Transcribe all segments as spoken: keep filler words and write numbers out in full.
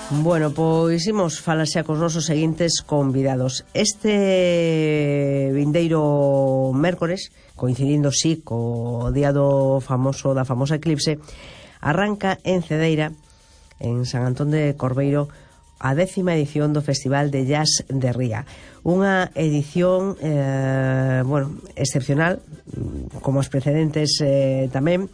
Bueno, pois imos falar xa cos nosos seguintes convidados. Este vindeiro mércores, coincidindo sí co día do famoso da famosa eclipse, arranca en Cedeira, en San Antón de Corveiro, a décima edición do Festival de Jazz de Ría. Unha edición eh, bueno, excepcional, como os precedentes eh, tamén,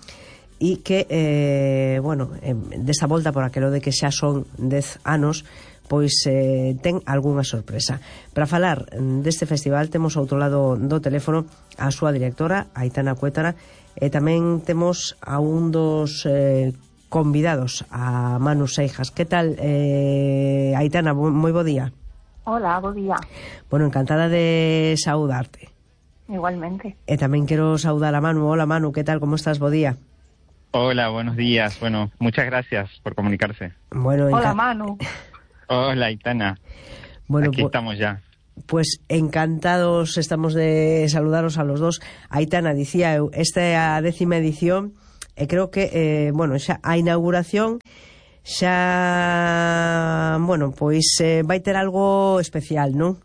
e que, eh, bueno, eh, desta volta, por aquelo de que xa son dez anos, pois eh, ten algunha sorpresa. Para falar deste festival temos ao outro lado do teléfono a súa directora, Aitana Cuétara, e tamén temos a un dos eh, convidados, a Manu Seijas. Que tal, eh, Aitana? Moi bo día. Hola, bo día. Bueno, encantada de saudarte. Igualmente. E tamén quero saudar a Manu. Hola, Manu, que tal? Como estás? Bo día. Hola, buenos días. Bueno, muchas gracias por comunicarse. Bueno, Hola, Manu. Hola, Aitana. Bueno, aquí pues, estamos ya. Pues encantados estamos de saludaros a los dos. Aitana, dicía eu, esta é a décima edición e creo que, eh, bueno, xa a inauguración xa, bueno, pois eh, vai ter algo especial, non?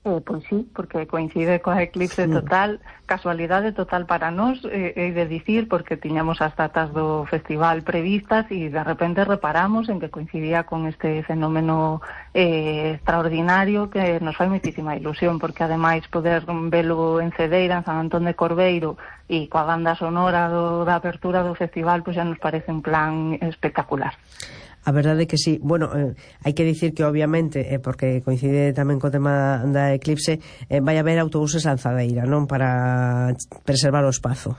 Eh, pois sí, porque coincide coa eclipse total, casualidade total para nós, eh, hei de dicir, porque tiñamos as datas do festival previstas e de repente reparamos en que coincidía con este fenómeno eh, extraordinario que nos fai moitísima ilusión, porque ademais poder velo en Cedeira, en San Antón de Corveiro, e coa banda sonora do, da apertura do festival, pois xa nos parece un plan espectacular. A verdade é que sí. Bueno, eh, hai que dicir que obviamente, eh, porque coincide tamén co tema da eclipse, eh, vai haber autobuses lanzadeira, non? Para preservar o espazo.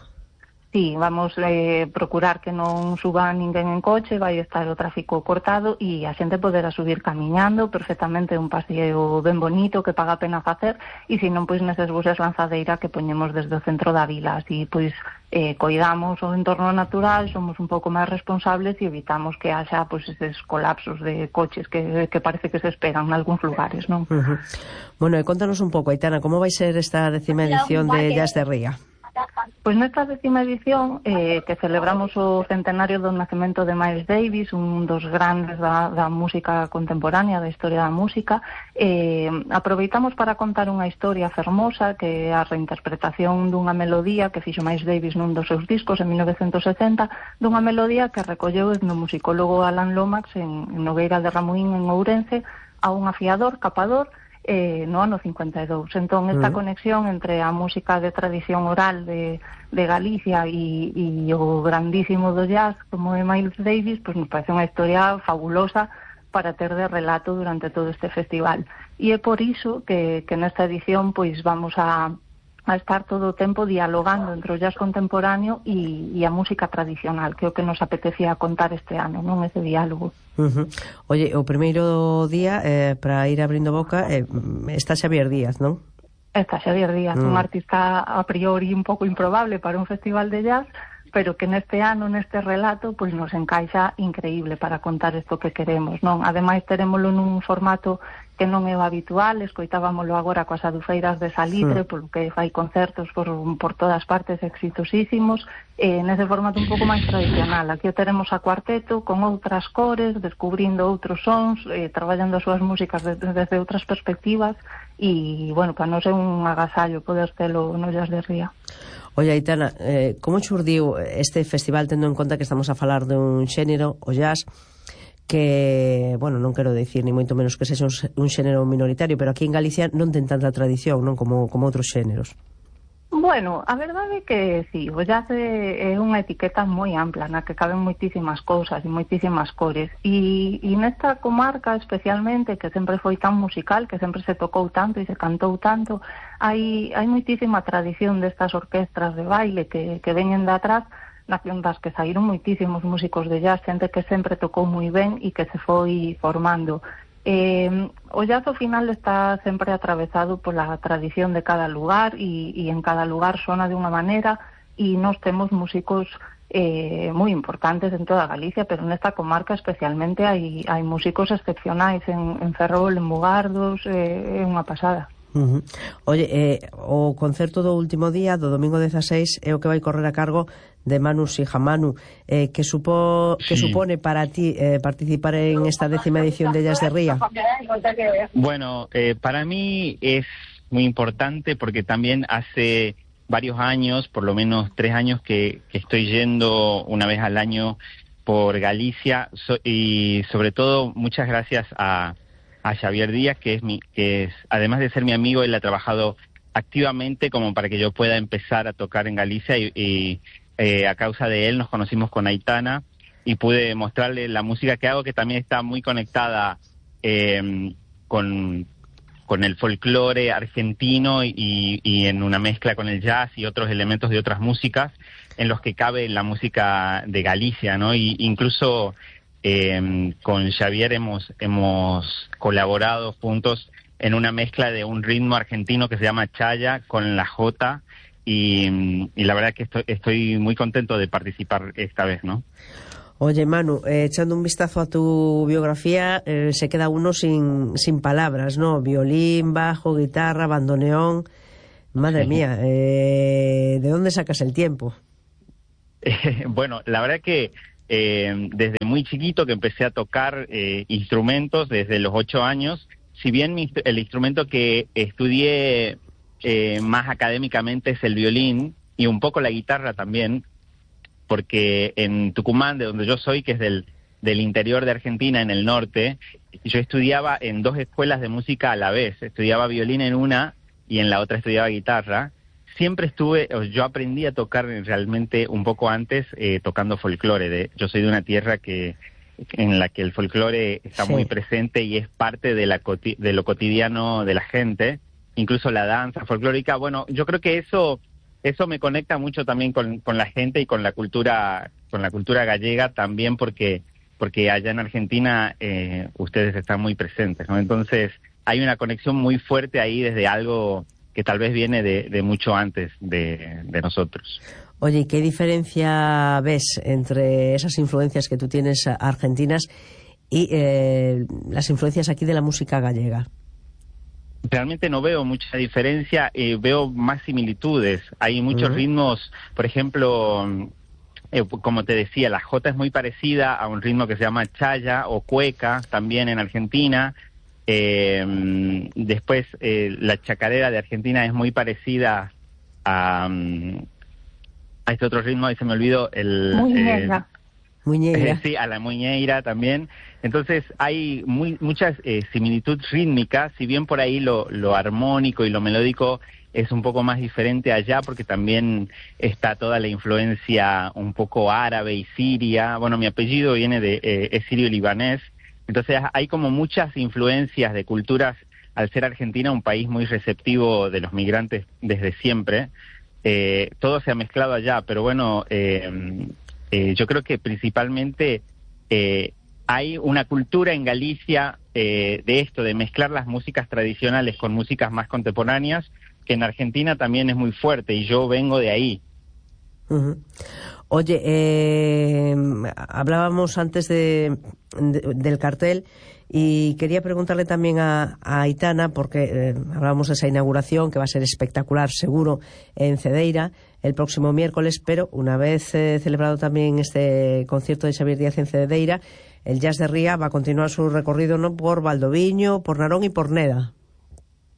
Sí, vamos eh, procurar que non suba ninguén en coche, vai estar o tráfico cortado e a xente poderá subir camiñando perfectamente, un paseo ben bonito que paga a pena facer, e se non, pois neses buses lanzadeira que poñemos desde o centro da vila, así pois eh, coidamos o entorno natural, somos un pouco máis responsables e evitamos que haxa pois eses colapsos de coches que, que parece que se esperan en algúns lugares, non? Uh-huh. Bueno, e contanos un pouco, Aitana, como vai ser esta décima edición de Jazz de Ría? Pois nesta décima edición eh, que celebramos o centenario do nacemento de Miles Davis, un dos grandes da, da música contemporánea, da historia da música, eh, aproveitamos para contar unha historia fermosa que é a reinterpretación dunha melodía que fixo Miles Davis nun dos seus discos en mil novecentos setenta, dunha melodía que recolleu o etnomusicólogo Alan Lomax en, en Nogueira de Ramuín, en Ourense, a un afiador, capador, Eh, no ano cincuenta e dous. Entón, esta uh-huh. conexión entre a música de tradición oral de, de Galicia e, e o grandísimo do jazz como é Miles Davis, pues nos parece unha historia fabulosa para ter de relato durante todo este festival. E é por iso que, que nesta edición pois vamos a a estar todo o tempo dialogando entre o jazz contemporáneo e, e a música tradicional, que é o que nos apetecía contar este ano, non? Ese diálogo. Uh-huh. Oye, o primeiro día, eh, para ir abrindo boca, eh, está Xavier Díaz, non? Está Xavier Díaz, mm. un artista a priori un pouco improbable para un festival de jazz, pero que neste ano, neste relato, pois nos encaixa increíble para contar isto que queremos, non? Ademais, terémolo nun formato que non é o habitual, escoitábamolo agora coas adufeiras de Salitre, mm. polo que fai concertos por, por todas partes exitosísimos, e nese formato un pouco máis tradicional. Aquí o teremos a cuarteto, con outras cores, descubrindo outros sons, eh, traballando as súas músicas desde, desde outras perspectivas, e, bueno, para non ser un agasallo poder telo no Jazz de Ría. Oye, Aitana, eh, como xurdiu este festival tendo en conta que estamos a falar dun xénero, o jazz, que, bueno, non quero dicir ni moito menos que sexa un, un xénero minoritario, pero aquí en Galicia non ten tanta tradición, non, como, como outros xéneros. Bueno, a verdade é que sí, o jazz é unha etiqueta moi ampla na que caben moitísimas cousas e moitísimas cores, e, e nesta comarca especialmente, que sempre foi tan musical, que sempre se tocou tanto e se cantou tanto, hai, hai moitísima tradición destas orquestras de baile que, que veñen de atrás, das que saíron moitísimos músicos de jazz, xente que sempre tocou moi ben e que se foi formando. Eh, o jazz ao final está sempre atravesado pola tradición de cada lugar e, e en cada lugar sona de unha maneira, e nós temos músicos eh, moi importantes en toda Galicia, pero nesta comarca especialmente hai, hai músicos excepcionais en, en Ferrol, en Mugardos, eh, é unha pasada. Uh-huh. Oye, eh, o concerto do último día, do domingo dezaseis, é o que vai correr a cargo de Manu Sijamanu. Eh, ¿qué, supo, ¿Qué Sí. supone para ti eh, participar en esta décima edición de Jazz de Ría? Bueno, eh, para mí es muy importante porque también hace varios años, por lo menos tres años, que, que estoy yendo una vez al año por Galicia, so, y sobre todo muchas gracias a, a Xavier Díaz, que es mi, que es, además de ser mi amigo, él ha trabajado activamente como para que yo pueda empezar a tocar en Galicia, y, y eh, a causa de él nos conocimos con Aitana y pude mostrarle la música que hago, que también está muy conectada eh, con, con el folclore argentino y, y en una mezcla con el jazz y otros elementos de otras músicas en los que cabe la música de Galicia, ¿no? Y incluso eh, con Xavier hemos, hemos colaborado juntos en una mezcla de un ritmo argentino que se llama chaya con la jota, y, y la verdad que estoy, estoy muy contento de participar esta vez, ¿no? Oye, Manu, eh, echando un vistazo a tu biografía, eh, se queda uno sin, sin palabras, ¿no? Violín, bajo, guitarra, bandoneón. Madre Sí. mía, eh, ¿de dónde sacas el tiempo? Eh, bueno, la verdad que eh, desde muy chiquito que empecé a tocar eh, instrumentos, desde los ocho años, si bien mi, el instrumento que estudié eh, más académicamente es el violín y un poco la guitarra también, porque en Tucumán, de donde yo soy, que es del, del interior de Argentina, en el norte, yo estudiaba en dos escuelas de música a la vez. Estudiaba violín en una y en la otra estudiaba guitarra. Siempre estuve, yo aprendí a tocar realmente un poco antes eh, tocando folclore. De, yo soy de una tierra que en la que el folclore está Sí. muy presente y es parte de, la coti- de lo cotidiano de la gente, incluso la danza folclórica. Bueno, yo creo que eso eso me conecta mucho también con, con la gente y con la cultura con la cultura gallega también, porque porque allá en Argentina eh, ustedes están muy presentes, ¿no? Entonces hay una conexión muy fuerte ahí desde algo que tal vez viene de, de mucho antes de, de nosotros. Oye, ¿y qué diferencia ves entre esas influencias que tú tienes argentinas y eh, las influencias aquí de la música gallega? Realmente no veo mucha diferencia, eh, veo más similitudes. Hay muchos Uh-huh. ritmos, por ejemplo, eh, como te decía, la jota es muy parecida a un ritmo que se llama chaya o cueca, también en Argentina. Eh, después, eh, la chacarera de Argentina es muy parecida a, a este otro ritmo, y se me olvidó el... Muñeira. Eh, Muñeira. Eh, sí, a la muñeira también. Entonces hay muy, muchas eh, similitudes rítmicas, si bien por ahí lo, lo armónico y lo melódico es un poco más diferente allá, porque también está toda la influencia un poco árabe y siria. Bueno, mi apellido viene de, eh, es sirio-libanés, entonces hay como muchas influencias de culturas, al ser Argentina un país muy receptivo de los migrantes desde siempre. Eh, todo se ha mezclado allá, pero bueno... Eh, Eh, yo creo que principalmente eh, hay una cultura en Galicia eh, de esto, de mezclar las músicas tradicionales con músicas más contemporáneas, que en Argentina también es muy fuerte, y yo vengo de ahí. Uh-huh. Oye, eh, hablábamos antes de, de, del cartel, y quería preguntarle también a, a Aitana, porque eh, hablábamos de esa inauguración que va a ser espectacular, seguro, en Cedeira el próximo miércoles, pero una vez eh, celebrado también este concierto de Xavier Díaz en Cedeira, el Jazz de Ría va a continuar su recorrido, ¿no?, por Valdoviño, por Narón y por Neda.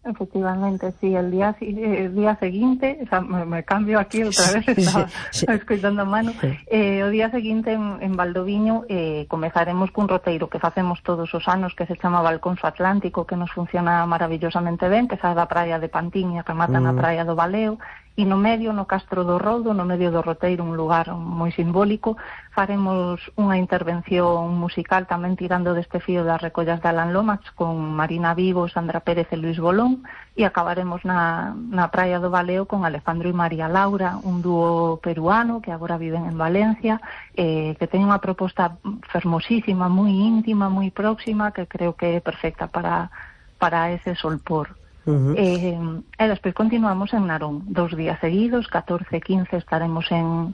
Efectivamente, sí, el día el día seguinte, o sea, me, me cambio aquí outra vez, estaba sí, sí. escoitando a Manu, eh, o día seguinte en, en Valdoviño eh, comezaremos cun roteiro que facemos todos os anos, que se chama Balconso Atlántico, que nos funciona maravillosamente ben, que sae da praia de Pantín e remata mm. na praia do Baleo, e no medio, no Castro do Rodo, no medio do roteiro, un lugar moi simbólico, faremos unha intervención musical tamén tirando deste fío das recollas de Alan Lomax con Marina Vivo, Sandra Pérez e Luis Bolón, e acabaremos na, na praia do Baleo con Alejandro e María Laura, un dúo peruano que agora viven en Valencia, eh, que ten unha proposta fermosísima, moi íntima, moi próxima, que creo que é perfecta para, para ese solpor. Uh-huh. eh, e despois continuamos en Narón dos días seguidos, catorce e quince estaremos en,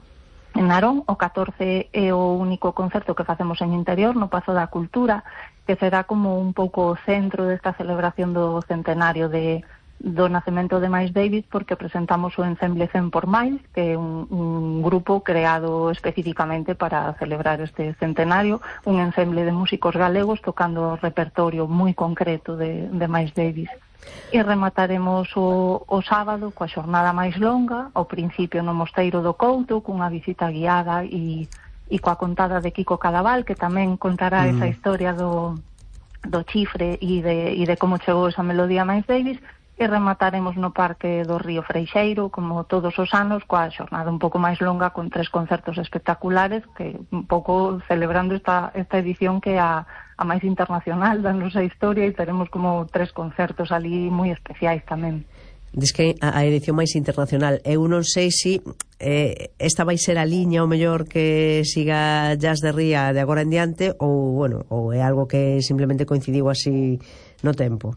en Narón. O catorce é o único concerto que facemos en interior, no Pazo da Cultura, que será como un pouco o centro desta celebración do centenario de, do nacemento de Miles Davis, porque presentamos o Ensemble cen por Miles, que é un, un grupo creado especificamente para celebrar este centenario, un ensemble de músicos galegos tocando repertorio moi concreto de, de Miles Davis. E remataremos o, o sábado coa xornada máis longa, ao principio no Mosteiro do Couto, cunha visita guiada e, e coa contada de Kiko Cadaval, que tamén contará mm. esa historia do, do chifre e de, e de como chegou esa melodía a Miles Davis. E remataremos no Parque do Río Freixeiro, como todos os anos, coa xornada un pouco máis longa, con tres concertos espectaculares, que un pouco celebrando esta, esta edición que é a, a máis internacional da nosa historia, e teremos como tres concertos ali moi especiais tamén. Diz que a edición máis internacional. Eu non sei se si, eh, esta vai ser a liña o mellor que siga Jazz de Ría de agora en diante, ou, bueno, ou é algo que simplemente coincidiu así no tempo.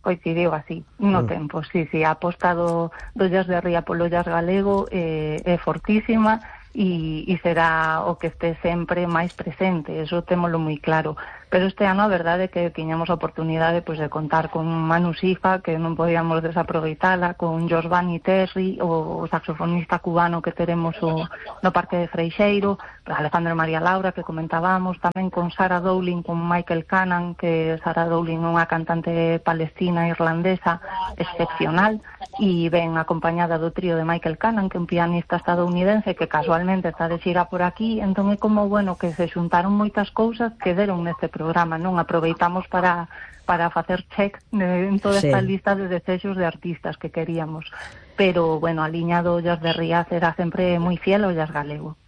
Coincidiu así, no mm. tempo, sí, sí, a aposta do, do Jazz de Ría polo jazz galego eh, é fortísima, e, e será o que este sempre máis presente, eso témolo moi claro. Pero este ano a verdade é que tiñamos a oportunidade pois, de contar con Manu Sifa, que non podíamos desaproveitala, con Josvani Terry, o saxofonista cubano que teremos o, no Parque de Freixeiro, Alejandro María Laura, que comentábamos, tamén con Sarah Dowling, con Michael Cannon, que Sarah Dowling é unha cantante palestina irlandesa excepcional, e ven acompañada do trío de Michael Cannon, que é un pianista estadounidense que casualmente está de xira por aquí. Entón é como, bueno, que se xuntaron moitas cousas que deron neste programa, non? Aproveitamos para para facer check en toda esta sí. lista de desexos de artistas que queríamos. Pero, bueno, a liña do Jazz de Ría será sempre moi fiel ao jazz galego.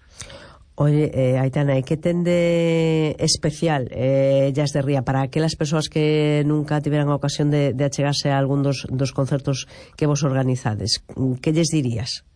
Oye, eh, Aitana, e que ten de especial eh, Jazz de Ría para aquelas persoas que nunca tiveran a ocasión de, de achegarse a algún dos, dos concertos que vos organizades? Que lles dirías?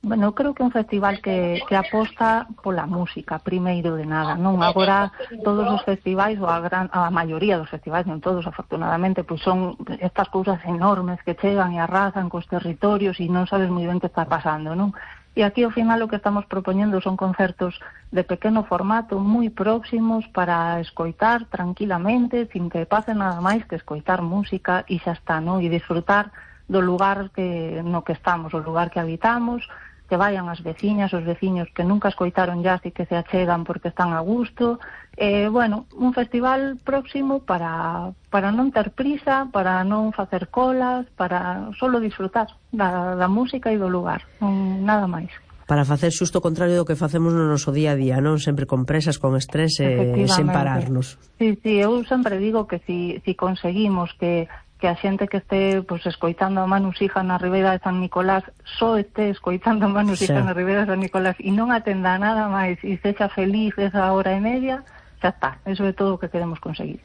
Bueno, creo que é un festival que, que aposta pola música, primeiro de nada, non? Agora, todos os festivais, ou a, gran, a maioría dos festivais, non todos, afortunadamente, pois son estas cousas enormes que chegan e arrasan cos territorios e non sabes moi ben que está pasando, non? E aquí, ao final, o que estamos propoñendo son concertos de pequeno formato, moi próximos, para escoitar tranquilamente, sin que pase nada máis que escoitar música e xa está, non? E disfrutar do lugar que no que estamos, o lugar que habitamos, que vayan as veciñas, os veciños que nunca escoitaron jazz e que se achegan porque están a gusto. Eh, bueno, un festival próximo para, para non ter prisa, para non facer colas, para solo disfrutar da, da música e do lugar, non, nada máis. Para facer xusto o contrario do que facemos no noso día a día, non? Sempre con presas, con estrés e sen pararnos. Sí, sí, eu sempre digo que si, si conseguimos que que a xente que este pues, escoitando a Manu Sija na Ribeira de San Nicolás só este escoitando a Manu Sija sí. na Ribeira de San Nicolás e non atenda nada máis e sexa feliz esa hora e media, xa está, eso é todo o que queremos conseguir.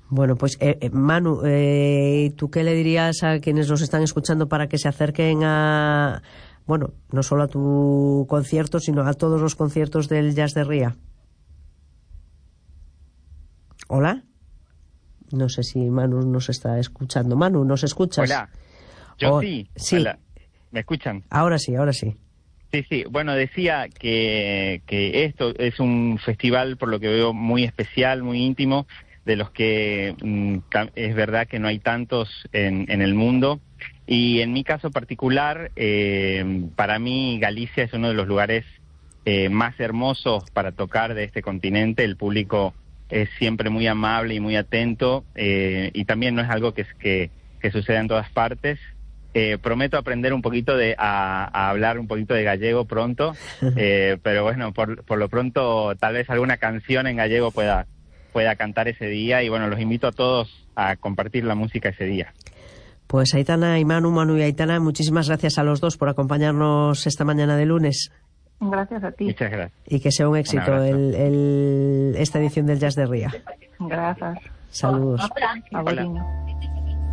Bueno, pues eh, eh, Manu, eh, ¿tú qué le dirías a quienes nos están escuchando para que se acerquen a, bueno, no solo a tu concierto, sino a todos los conciertos del Jazz de Ría? ¿Hola? No sé si Manu nos está escuchando. Manu, ¿nos escuchas? Hola, yo oh, sí. sí. Hola. ¿Me escuchan? Ahora sí, ahora sí. Sí, sí. Bueno, decía que, que esto es un festival, por lo que veo, muy especial, muy íntimo, de los que mm, es verdad que no hay tantos en, en el mundo. Y en mi caso particular, eh, para mí Galicia es uno de los lugares eh, más hermosos para tocar de este continente. El público es siempre muy amable y muy atento, eh, y también no es algo que, que, que suceda en todas partes. Eh, prometo aprender un poquito de a, a hablar un poquito de gallego pronto, eh, pero bueno, por, por lo pronto tal vez alguna canción en gallego pueda, pueda cantar ese día, y bueno, los invito a todos a compartir la música ese día. Pues Aitana y Manu, Manu y Aitana, muchísimas gracias a los dos por acompañarnos esta mañana de lunes. Gracias a ti. Muchas gracias. Y que sea un éxito un el, el, esta edición del Jazz de Ría. Gracias. Saludos. Hola.